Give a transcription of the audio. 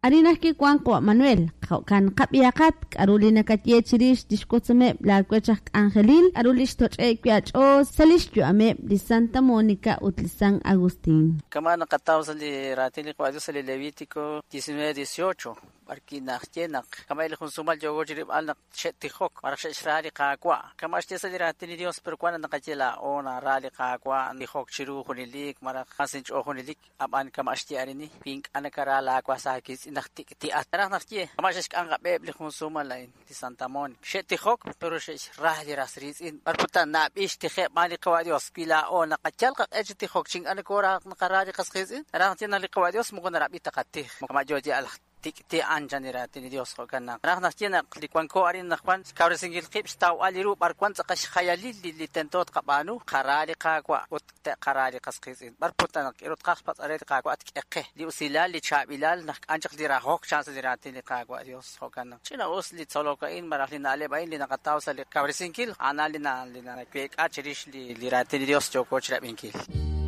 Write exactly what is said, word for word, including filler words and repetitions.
Arin ajwi' wank qawa' Manuel, jo'kan qab'ihaqat k'aru li nakaye chi rix li xwotzomeb' laawech aj k'anjelil, k'aru li xtoch'e'k wi' aach'ool sa' li xyu'ameb' li Santa Mónica ut li San Agustín. Kama' naqataw sa' li raatin li Qawa' Dios sa' li Levítico diecinueve dieciocho b'arwi' naxye naq kama' li jun sumal yooko chi rilb'al naq xe'tijok malaj xe'xra li Qaawa'. Kama' xye sa' li raatin li Dios, pero wan naq naqaye laa'o nara li Qaawa', tijok chiru junelik malaj mas inch'ool junelik, ab'an kama' xye arini wi ink'a' nakara laawas aawiitz'in naq tik'ti'at. Naraj naxye kama' xe'xk'am qab'eheb' li jun sumal a'in li Santa Mónica. Xe'tijok pero xe'xra li ras riitz'in. B'ar kutan nab'ix tijeb' b'aan li Qawa' Dios wi laa'o naqayal qaq'e chi tijok chi ink'a' nokora naqara li qas qiitz'in. Naraj naxye naq li Qawa' Dios moko narab'i ta qatij. Kama' yo yal tik'ti'an chan li raatin li Dios jo'kan naq naraj naxye naq li wanko arin naq wan xkawresinkil qib' xtawb'al li ru b'ar wan tz'aqal xjayalil li li tento tqab'aanu qara li Qaawa' ut te'qara li qas qiitz'in. B'ar putan naq k'ero tqaj xpatz'are li Qaawa' tk'e qe li usilal li chaab'ilal naq k'an chaq li rajok chan sa' li raatin li Qaawa' Dios jo'kan naq ch'ina us li tzolok a'in malaj li na'leb' a'in li naqataw sa' li kawresinkil a'an li na li naweek'a chirix li li raatin li Dios yooko chirab'inkil.